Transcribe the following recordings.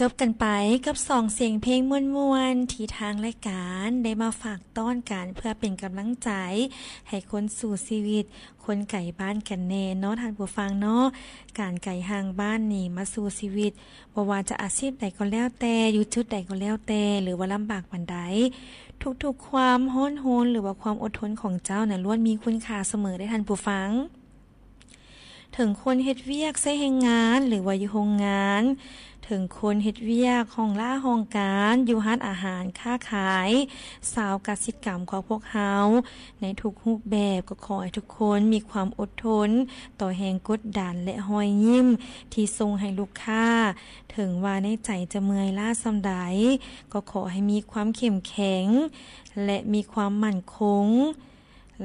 ຈົບກັນໄປກັບສອງສຽງເພງມ່ວນໆ ທີ່ທາງລາຍການໄດ້ມາຝາກຕ້ອນກັນ ເພື່ອເປັນກຳລັງໃຈໃຫ້ຄົນສູ້ຊີວິດ, ຄົນໄກບ້ານກັນແນ່ເນາະທ່ານຜູ້ຟັງເນາະ. ການໄກຫ່າງບ້ານນີ້ມາສູ້ຊີວິດ, ບໍ່ວ່າຈະອາຊີບໃດກໍແລ້ວແຕ່, ຢູ່ຈຸດໃດກໍແລ້ວແຕ່ ຫຼືວ່າລຳບາກປານໃດ, ທຸກໆຄວາມຮ້ອນຮົນ ຫຼືວ່າຄວາມອົດທົນຂອງເຈົ້ານັ້ນ ລ້ວນມີຄຸນຄ່າສະເໝີເດ້ທ່ານຜູ້ຟັງ. ເຖິງຄົນເຮັດວຽກໃຊ້ແຮງງານ ຫຼືວ່າຢູ່ໂຮງງານ, ເຖິງຄົນເຮັດວຽກຫ້ອງລາຫ້ອງການ, ຢູ່ຮ້ານອາຫານ, ຄ້າຂາຍ, ຊາວກະສິກຳຂອງພວກເຮົາ ໃນທຸກຮູບແບບ, ກໍຂໍໃຫ້ທຸກຄົນມີຄວາມອົດທົນຕໍ່ແຮງກົດດັນ ແລະ ຮອຍຍິ້ມທີ່ສົ່ງໃຫ້ລູກຄ້າ. ເຖິງວ່າໃນໃຈຈະເມື່ອຍລ້າສ່ຳໃດ, ກໍຂໍໃຫ້ມີຄວາມເຂັ້ມແຂງ ແລະ ມີຄວາມໝັ້ນຄົງ.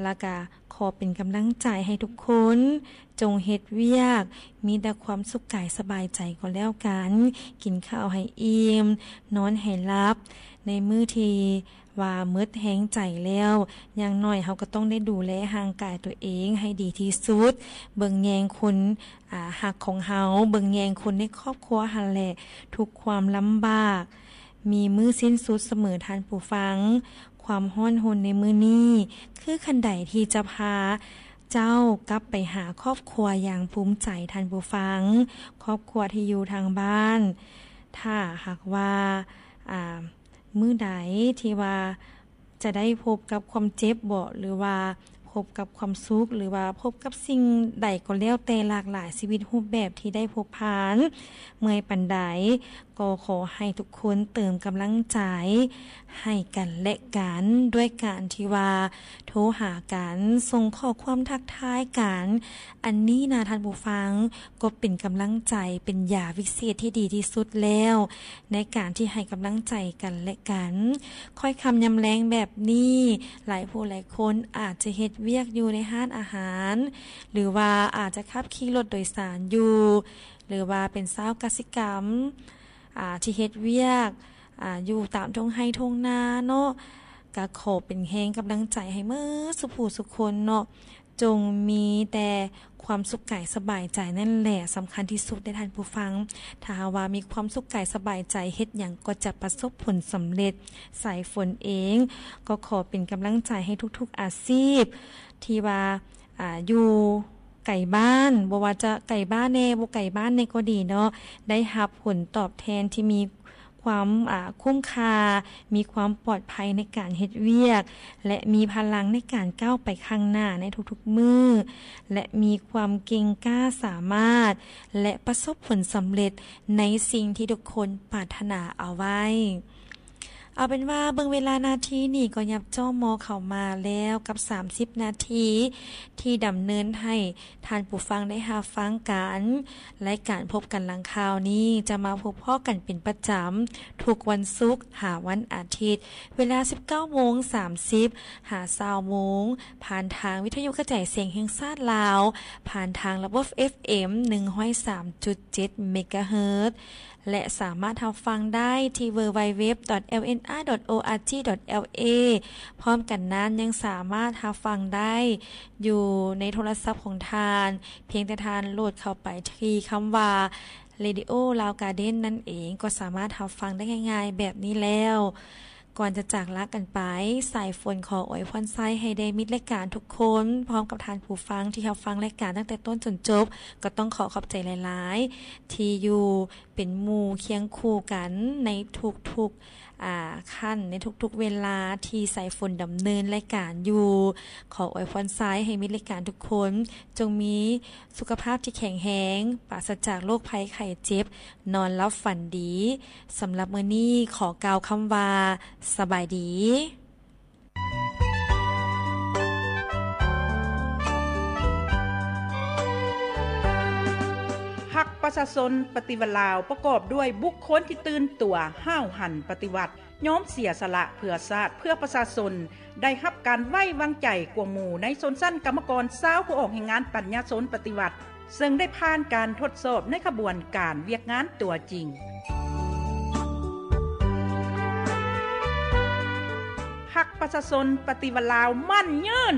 ແລ້ວກະຂໍເປັນກຳລັງໃຈໃຫ້ທຸກຄົນ ຈົ່ງເຮັດວຽກ ມີແຕ່ຄວາມສຸກກາຍສະບາຍໃຈກໍແລ້ວກັນ, ກິນເຂົ້າໃຫ້ອີ່ມ, ນອນໃຫ້ຫຼັບ. ໃນມື້ທີ່ວ່າໝົດແຮງໃຈແລ້ວ, ຢ່າງໜ້ອຍເຮົາກໍຕ້ອງໄດ້ດູແລຮ່າງກາຍຕົວເອງໃຫ້ດີທີ່ສຸດ, ເບິ່ງແຍງຄົນ ອາ ຮັກຂອງເຮົາ, ເບິ່ງແຍງຄົນໃນຄອບຄົວຫັ້ນແຫຼະ. ທຸກຄວາມລຳບາກ ມີມື້ສິ້ນສຸດສະເໝີທ່ານຜູ້ຟັງ. ຄວາມຮ້ອນຮົນໃນມື້ນີ້ ຄືຄັນໄດທີ່ຈະພາເຈົ້າກັບໄປຫາຄອບຄົວຢ່າງພູມໃຈທ່ານຜູ້ຟັງ, ຄອບຄົວທີ່ຢູ່ທາງບ້ານ. ຖ້າຫາກວ່າ ອາ ມື້ໃດທີ່ວ່າຈະໄດ້ພົບກັບຄວາມເຈັບເບາະ ຫຼືວ່າ ພົບກັບຄວາມສຸກ ຫຼືວ່າພົບກັບສິ່ງໃດກໍແລ້ວແຕ່ຫຼາກຫຼາຍຊີວິດຮູບແບບທີ່ໄດ້ພົບຜ່ານ, ເມື່ອຍປານໃດກໍຂໍໃຫ້ທຸກຄົນເຕີມກຳລັງໃຈໃຫ້ກັນແລະກັນ ດ້ວຍການທີ່ວ່າໂທຫາກັນ, ສົ່ງຂໍ້ຄວາມທັກທາຍກັນ. ອັນນີ້ນະທ່ານຜູ້ຟັງ ກໍເປັນກຳລັງໃຈ, ເປັນຢາວິເສດທີ່ດີທີ່ສຸດແລ້ວ ໃນການທີ່ໃຫ້ກຳລັງໃຈກັນແລະກັນ. ຄ່ອຍຄ່ຳຍາມແລງແບບນີ້ ຫຼາຍຜູ້ຫຼາຍຄົນອາດຈະເຮັດວຽກຢູ່ໃນຮ້ານອາຫານ ຫຼືວ່າອາດຈະຂັບຂີ່ລົດໂດຍສານຢູ່ ຫຼືວ່າເປັນຊາວກະສິກຳ ອາ ທີ່ເຮັດວຽກ ອາ ຢູ່ຕາມທົ່ງໄຮ່ທົ່ງນາເນາະ. ກະຂໍເປັນແຮງກຳລັງໃຈໃຫ້ເໝິດສູ່ຜູ້ສູ່ຄົນເນາະ. ຈົ່ງມີແຕ່ຄວາມສຸກກາຍສະບາຍໃຈນັ້ນແຫຼະສຳຄັນທີ່ສຸດເດ້ທ່ານຜູ້ຟັງ. ຖ້າຫາກວ່າມີຄວາມສຸກກາຍສະບາຍໃຈ, ເຮັດຫຍັງກໍຈະປະສົບຜົນສຳເລັດ. ສາຍຝົນເອງກໍຂໍເປັນກຳລັງໃຈໃຫ້ທຸກໆອາຊີບທີ່ວ່າ ອາ ຢູ່ໄກບ້ານ, ບໍ່ວ່າຈະໄກບ້ານແດ່, ບໍ່ໄກບ້ານແດ່ກໍດີເນາະ, ໄດ້ຮັບຜົນຕອບແທນທີ່ມີ ຄວາມ ອາ ຄຸ້ມຄ່າ, ມີຄວາມປອດໄພໃນການເຮັດວຽກ ແລະ ມີພະລັງໃນການກ້າວໄປຂ້າງໜ້າໃນທຸກໆມື້ ແລະ ມີຄວາມເກັ່ງກ້າສາມາດ ແລະ ປະສົບຜົນສຳເລັດໃນສິ່ງທີ່ທຸກຄົນປາດຖະໜາເອົາໄວ້. ເອົາເປັນວ່າເບິ່ງເວລານາທີນີ້ກໍຫຍັບຈ້ອມມໍ່ເຂົ້າມາແລ້ວກັບສາມສິບນາທີ ທີ່ດຳເນີນໃຫ້ ທ່ານຜູ້ຟັງໄດ້ຮັບຟັງກັນ. ລາຍການພົບກັນຫຼັງຂ່າວນີ້ຈະມາພົບພໍ້ກັນເປັນປະຈຳ ທຸກວັນສຸກຫາວັນອາທິດ ເວລາສິບເກົ້າໂມງສາມສິບຫາຊາວໂມງ ຜ່ານທາງວິທະຍຸກະຈາຍສຽງແຫ່ງຊາດລາວ ຜ່ານທາງລະບົບເອັຟເອັມໜຶ່ງຮ້ອຍສາມຈຸດເຈັດເມກາເຮີດ ແລະ ສາມາດຮັບຟັງໄດ້ທີ່ www.lnr.org.la. ພ້ອມກັນນັ້ນຍັງສາມາດຮັບຟັງໄດ້ຢູ່ໃນໂທລະສັບຂອງທ່ານ, ພຽງແຕ່ທ່ານໂຫຼດເຂົ້າໄປທີ່ຄຳວ່າ Radio Lao Garden ນັ້ນເອງ, ກໍສາມາດຮັບຟັງໄດ້ງ່າຍໆແບບນີ້ແລ້ວ. ກ່ອນຈະຈາກລາກັນໄປ, ສາຍຝົນຂໍອວຍພອນໄຊໃຫ້ແດ່ມິດລາຍການທຸກຄົນ, ພ້ອມກັບທ່ານຜູ້ຟັງທີ່ຮັບຟັງລາຍການຕັ້ງແຕ່ຕົ້ນຈົນຈົບ, ກໍຕ້ອງຂໍຂອບໃຈຫຼາຍໆ ທີ່ຢູ່ ເປັນໝູ່ຄຽງຄູ່ກັນໃນທຸກໆ ອາ ຂັ້ນ, ໃນທຸກໆເວລາທີ່ສາຍຝົນດຳເນີນລາຍການຢູ່. ຂໍອວຍພອນໄຊໃຫ້ມິດລາຍການທຸກຄົນ ຈົ່ງມີສຸຂະພາບທີ່ແຂງແຮງ, ປາສະຈາກໂລກໄພໄຂ້ເຈັບ, ນອນຫຼັບຝັນດີ. ສຳລັບມື້ນີ້ຂໍກ່າວຄຳວ່າ ສະບາຍດີ. ພັກປະຊາຊົນປະຕິວັດລາວ ປະກອບດ້ວຍບຸກຄົນທີ່ຕື່ນຕົວ, ຫ້າວຫັນປະຕິວັດ, ຍອມເສຍສະຫຼະເພື່ອຊາດ, ເພື່ອປະຊາຊົນ, ໄດ້ຮັບການໄວ້ວາງໃຈກວ່າໝູ່ໃນຊົນຊັ້ນກຳມະກອນຊາວຜູ້ອອກແຮງງານປັນຍາຊົນປະຕິວັດ. ເຊິ່ງໄດ້ຜ່ານການທົດສອບໃນຂະບວນການວຽກງານຕົວຈິງ. ພັກປະຊາຊົນປະຕິວັດລາວໝັ້ນຍືນ!